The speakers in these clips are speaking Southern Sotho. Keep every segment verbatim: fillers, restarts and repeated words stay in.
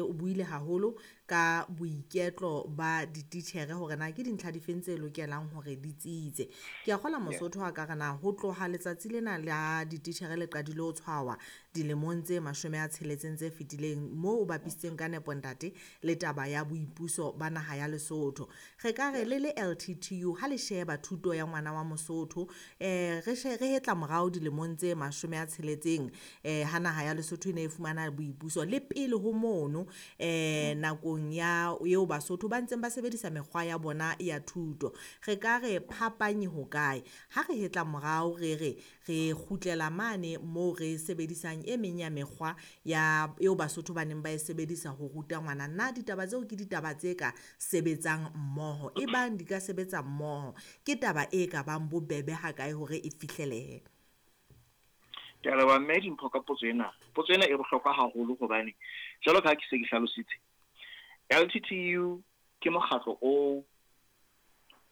O buile haholo ka boiketlo ba dititjhere hore na ke dintlha difeng tse lokelang hore di tsitse. Ke a kgolwa Mosotho a ka re na ho tloha letsatsi lena la dititjhere le qadile ho tshwawa dilemong tse mashome a tsheletseng tse fetileng, moo o bapisitseng ka nepo ntate le taba ya boipuso ba naha ya Lesotho. Re ka re le le L T T U ha le sheba thuto ya ngwana wa Mosotho, eh re she re hetla morao dilemong tse mashome a tsheletseng, eh ha naha ya Lesotho e ne e fumana boipuso le pele ho mono, eh nakong ya eo Basotho ba ntseng ba sebedisa mekgwa ya bona ya thuto. Re ka re phapang e hokae? Ha re hetla morao re re re kgutlela mane moo re sebedisang e meng ya mekgwa ya eo Basotho ba neng ba e sebedisa ho ruta ngwana. Na ditaba tseo ke ditaba tse ka sebetsang mmoho? E bang di ka sebetsa mmoho, ke taba e ka bang bobebe ha kae hore e fihlelehe? Ke a leboha mme Dimpho ka potso ena. Potso ena e bohlokwa haholo hobane jwalo ka ha ke se ke hlalositse, L T T U ke mokgatlo o,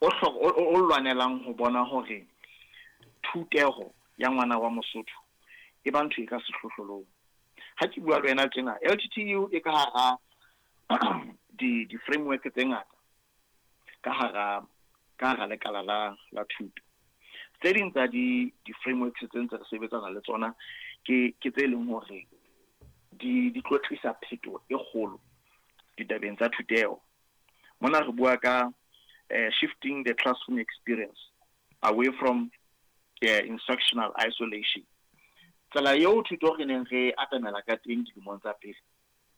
o hlo-, o, o, o lwanelang ho bona hore thuteho ya ngwana wa Mosotho e ba ntho e ka sehlohlolong. Ha ke bua le wena tjena, L T T U e ka hara di, di-framework tse ngata ka hara, ka hara lekala la, la thuto. Tse ding tsa di, di-frameworks tse ntse re sebetsana le tsona ke, ke tse leng hore di, di tlo tlisa phetoho e kgolo ditabeng tsa thuteho. Mona re bua ka, eh, shifting the classroom experience away from, eh, instructional isolation. Tsela eo thuto re neng re atamela ka teng dilemong tsa pele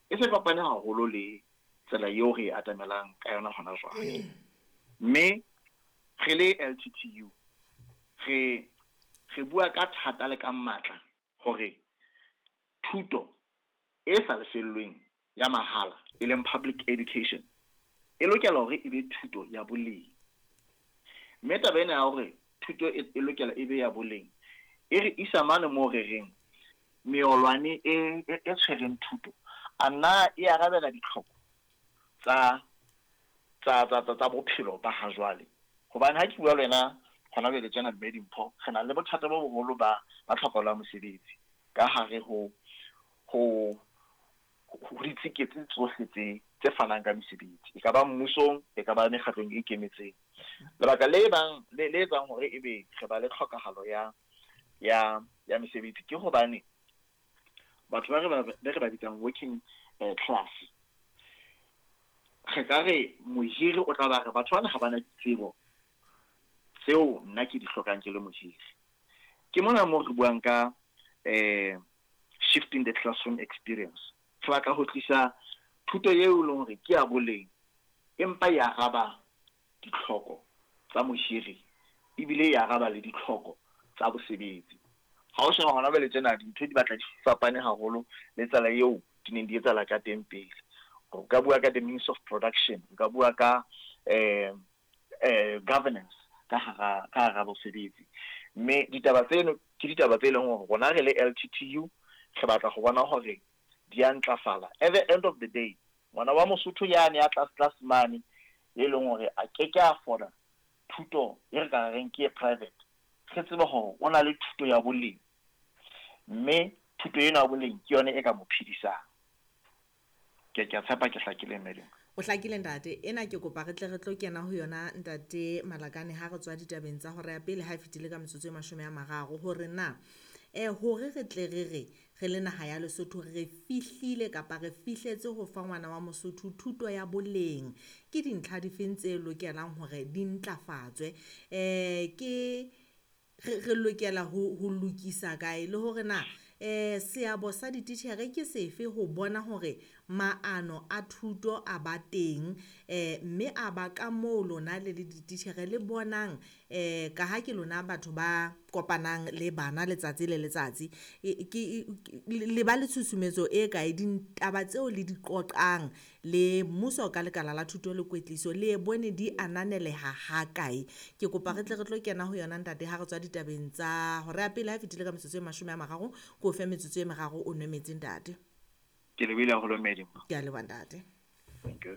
e se fapane haholo le tsela eo re atamelang ka yona hona jwale. Mme re le L T T U re, re bua ka thata le ka matla hore thuto e sa lefellweng ya mahala e leng public education e lokela hore e be thuto ya boleng. Mme taba ena ya hore thuto e, e lokela e be ya boleng e re isa mane moo re reng meolwane e, e, e tshwereng thuto a nna e arabela ditlhoko tsa, tsa, tsa, tsa, tsa bophelo ba ha jwale. Hobane ha ke bua le wena hona jwale tjena mme Dimpho, re na le bothata bo boholo ba, ba tlhokahalo ya mosebetsi ka hare ho, ho, ho ditsiketsi tsohle tse, tse fanang ka mesebetsi, e ka ba mmusong, e ka ba mekgatlong e ikemetseng. Lebaka le bang, le, le etsang hore ebe re ba le tlhokahalo ya, ya, ya mesebetsi ke hobane batho ba re ba, be re ba bitsang working, eh, class, re ka re mohiri o tla ba re batho bana ha bana ditsebo tseo nna ke di hlokang ke le mohiri. Ke mona moo re buang ka, eh, shifting the classroom experience. Re batla ho tlisa thuto eo e leng hore ke ya boleng, empa e araba ditlhoko tsa mohiri ebile e araba le ditlhoko tsa bosebetsi. Ha o sheba hona jwale tjena dintho di batla di fapane haholo le tsela eo di neng di etsahala ka teng pele. O ka bua ka the means of production, o ka bua ka, eh, eh, governance ka hara, ka hara bosebetsi. Mme ditaba tseno ke ditaba tse leng hore rona re le L T T U re batla ho bona hore di a ntlafala. At the end of the day, ngwana wa Mosotho yane ya tlase tlase mane e leng hore a ke ke a afforda thuto e re ka reng ke e private, re tsebe hore o na le thuto ya boleng, mme thuto ena ya boleng ke yone e ka mo phedisang. Ke, ke a tshepa ke hlakile mme Dimpho. O hlakile ntate. Ena ke kopa re tle re tlo kena ho yona ntate Malakane ha re tswa ditabeng tsa hora ya pele ha e fetile ka metsotso e mashome a mararo, hore na, eh, hore re tle re re re le naha ya Lesotho re fihlile kapa re fihletse ho fa ngwana wa Mosotho thuto ya boleng, ke dintlha difeng tse lokelang hore di ntlafatswe? Eh, ke re, re lokela ho, ho lokisa kae, le hore na, eh, seabo sa dititjhere ke sefe ho bona hore maano a thuto a ba teng, eh, mme a ba ka moo lona le le dititjhere le bonang, eh, ka ha ke lona batho ba kopanang le bana letsatsi le letsatsi, e, ke, e, ke, le ba le tshusumetso e kae ditaba tseo le di qoqang le mmuso ka lekala la thuto le kwetliso, le e bone di ananeleha ha kae? Ke kopa re tle re tlo kena ho yona ntate ha re tswa ditabeng tsa hora ya pele ha e fetile ka metsotso e mashome a mararo, ke o fe metsotso e meraro o nwe metsi ntate. Ke lebohile haholo mme Dimpho. Ke a leboha ntate. Thank you.